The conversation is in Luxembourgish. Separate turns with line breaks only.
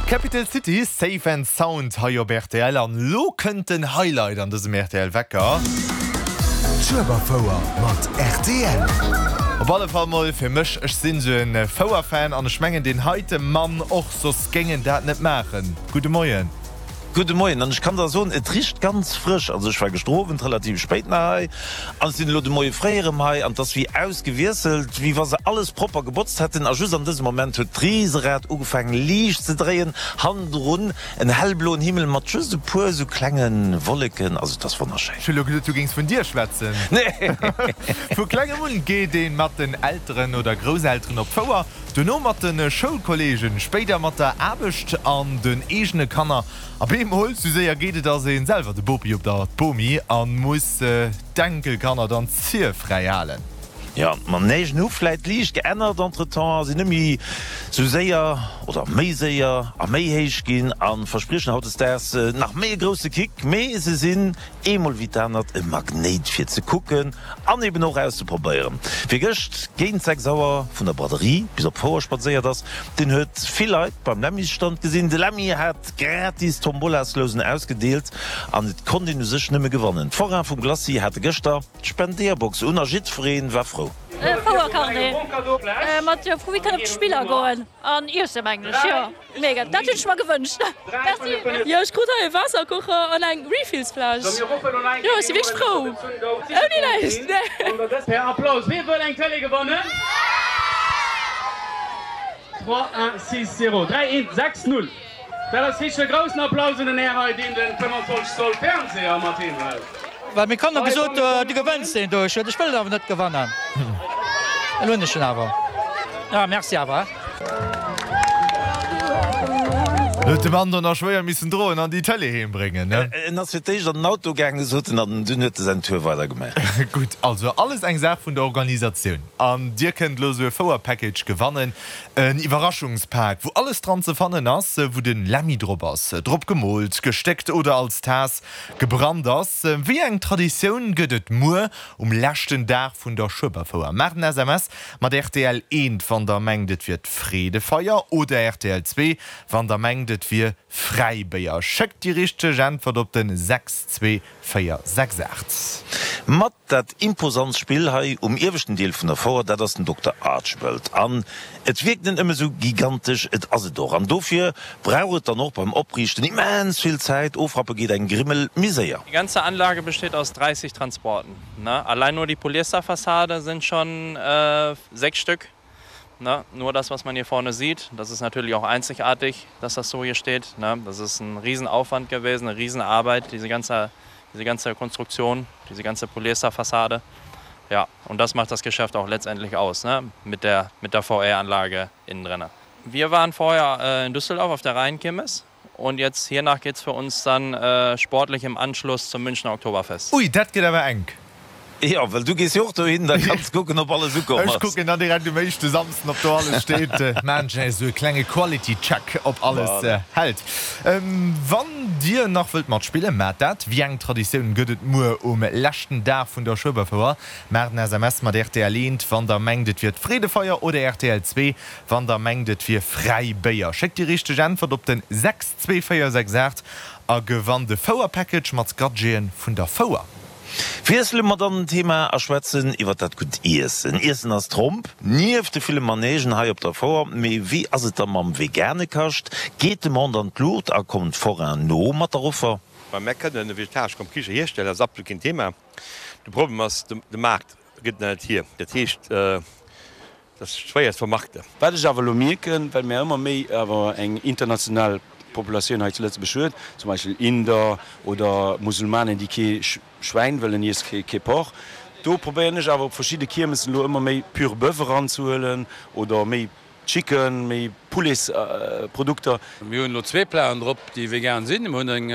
Capital City, Safe and Sound hei op rtl. An elo kënnt den Highlight an dësem rtl Wecker.
D'Schueberfouer mat rtl.
Op alle Fall mol fir mech, ech sinn sou en Fouer-Fan an ech mengen deen heite Mann och, soss géing en dat net maachen. Gudde Moien.
Gudde Moien, an ech kann der soen, et richt ganz frësch. Also ech war gëschter Owend relativ spéit nach hei an ech sinn elo de Moie fréi erëm hei an et ass wéi ausgewiesselt, wéi wa se alles propper gebotzt hätten. A just an dësem Moment huet d'Riserad ugefaangen liicht ze dréien, hannendrun en hellbloen Himmel mat just e puer esou klenge Wolleken. Also et ass wonnerschéin.
Ech hu lo geduet du géings vun dir schwätzen.
Nee.
Vu klengem un geet een mat den Elteren oder Grousselteren op d'Fouer. Duerno mat de Schoulkolleegen, spéider mat der Aarbecht an den eegene Kanner. A bemol, sou séier geet et, ass een selwer de Bopi op der d'Bomi a muss d'Enkelkanner dann d'Zier fräi halen.
Jo, d'Manègen hu vläit liicht geännert entretemps a sinn net méi sou séier oder méi séier a méi héich ginn a verspriechen hautdesdaags nach méi e grousse Kick, mee se sinn Eemol wéi d'anert e Magnéit fir ze kucken an eben och auszeprobéieren. Wie gëscht géint 6 Auer vun der Braderie bis op d'Fouer spadséiert ass, deen huet vill Leit beim Lemmysstand gesinn. De Lemmy hat gratis Tombolasllousen ausgedeelt an et konnt een u sech nëmme gewannen. D'Forain vum Glacis hate gëschter d'Spendeerbox un a jiddweree war frou.
Fouercarnet mat jo wou kënne op d'Spiller goen an iessen mengen ech jo. Mega, dat hunn ech mer gewënscht. Merci.
Jo, ech krut hei e Waasserkocher an eng Refillsfläsch. Jo, ech si wierklech frou. Ouni näischt, nee.
Per Applaus, Wie wëll eng Tëlee gewannen? 3, 1, 6, 0, 3, 1, 6, 0. Dat ass richteg e groussen Applaus un den Här hei, deen den 25 Zoll Fernseher mat heem hëlt.
Well meng Kanner gesot, du gewënns deen do. Ech sot, ech wëll awer net gewannen. Elo hunn ech en awer. Ah, merci awer.
Huet de Mann dann nach schwéier missen droen an déi Tëlee heem bréngen, ne?
En ass fir d'éischt an den Auto gaangen, sot en, an dunn huet e säin Tour weider gemaach.
Gutt, also alles eng Saach vun der Organisatioun. An dir kënnt elo esou e Fouer-Package gewannen, en Iwwerraschungspak, wou alles dran ze fannen ass, wou de Lemmy drop ass, drop gemoolt, gestéckt oder als Taass gebrannt ass. Wéi eng Traditioun gëtt et muer um leschten Dag vun der Schueberfouer? Maacht en SMS Mat rtl 1, wann der mengt et wier d'Freedefeier, oder rtl 2, wann der mengt et wier Fräibéier. Schéckt déi richteg Äntwert op den 62468.
Mat dat imposant Spill hei um ieweschten Deel vun der Fouer, dat ass den Dokter Archibald. An et wierkt net nëmme sou gigantesch, et ass et och. An dofir brauch et dann och beim Opriichten immens vill Zäit, ofrappe geet eng Grimmel méi séier.
Die ganze Anlage besteht aus 30 Transporten. Ne? Allein nur die Polyesterfassade sind schon äh, sechs Stück. Ne? Nur das, was man hier vorne sieht, das ist natürlich auch einzigartig, dass das so hier steht. Ne? Das ist ein Riesenaufwand gewesen, eine Riesenarbeit, diese ganze, diese ganze Konstruktion, diese ganze Polyesterfassade. Ja, und das macht das Geschäft auch letztendlich aus, ne? mit der, mit der VR-Anlage innen drinne. Wir waren vorher äh, in Düsseldorf auf der Rheinkirmes Und jetzt hiernach geht's für uns dann sportlich im Anschluss zum Münchner Oktoberfest.
Ui, dat gëtt awer enk.
Jo, well du gees jo och dohin, da kanns kucken ob alles ukomm
ass. Ech kucken dann direkt um éischte Samsden ob do alles steet. Maan ech esou e klenge Quality Check ob alles hält. Wann dir nach wëllt matspillen, maacht dat. Wéi eng Traditioun gëtt et muer um leschten Dag vun der Schueberfouer? Maacht en SMS mat rtl 1 wann der mengt et wier d'Freedefeier oder rtl 2 Wann der mengt et wier fräi Béier, schéckt déi richteg Äntwert op den 62468 a gewannt e Fouer-Package mat Gadgeten vun der Fouer.
Wiessele mer dann den Thema a schwätzen iwwer dat gutt Iessen. Iessen ass Tromp, nieft de ville Manègen hei op der Fouer. Mee wéi ass et da mam vegane Kascht? Geet d'Demande an d'Luucht a kommt d'Forain no mat der Offer?
Mä mär kënnen e vegetaresche Kiche hierstellen, dat ass absolut keen Thema. De Problem ass, de Maart gëtt et net hier. Dat heescht, Dat ass schwéier ze vermarkten.
Wat ech awer elo mierken, well mär ëmmer méi awer eng international Populatioun hei zu Lëtzebuerg huet, zum Beispill Inder oder Musulmanen, déi kee Schwäin wëllen iessen, kee Porc, do probéieren ech awer op verschidde Kiermessen elo ëmmer méi pur Boeuf eranzehuelen oder méi Chicken, méi Poulets-Produkter.
Mir hunn elo zwee Platen drop, déi vegan sinn. Mir hunn eng.